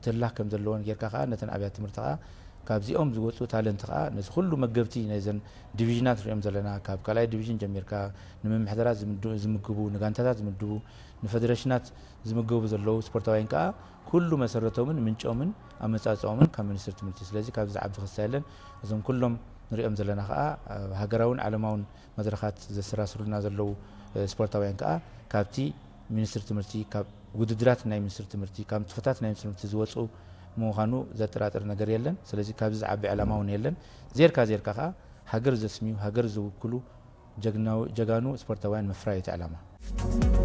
ክህላ ከም ዘለዎን ጌርካ ከዓ ነተን ኣብያተ ትምህርቲ ከዓ ካብዚኦም ዝወፁ ታለንት ከዓ ነዚ ኩሉ መገብቲ ናይዘን ዲቪዥናት ንሪኦም ዘለና ካብ ካልኣይ ዲቪዥን ጀሚርካ ንምምሕዳራት ዝምድ- ዝምግቡ ንጋንታታት ዝምድቡ ንፌደሬሽናት ዝምገቡ ዘለዉ ስፖርታውያን ከዓ ኩሉ መሰረቶምን ምንጮምን ኣመፃፅኦምን ካብ ሚኒስትሪ ትምህርቲ ስለዚ ካብዚ ዝዓቢ ክሳ የለን እዞም ኩሎም ንሪኦም ዘለና ከዓ ኣብ ሃገራውን ዓለማውን መድረኻት ዘሰራስሩና ዘለዉ ስፖርታውያን ከዓ ካብቲ ሚኒስትሪ ትምህርቲ ካብ ውድድራት ናይ ሚኒስትሪ ትምህርቲ ካብ ንጥፈታት ናይ ሚኒስትሪ ትምህርቲ ዝወፁ ምዃኑ ዘጠራጥር ነገር የለን ስለዚ ካብዚ ዝዓቢ ዕላማ እውን የለን ዜርካ ዜርካ ከዓ ሃገር ዘስምዩ ሃገር ዝውክሉ ጀጋኑ ስፖርታውያን ምፍራይ እቲ ዕላማ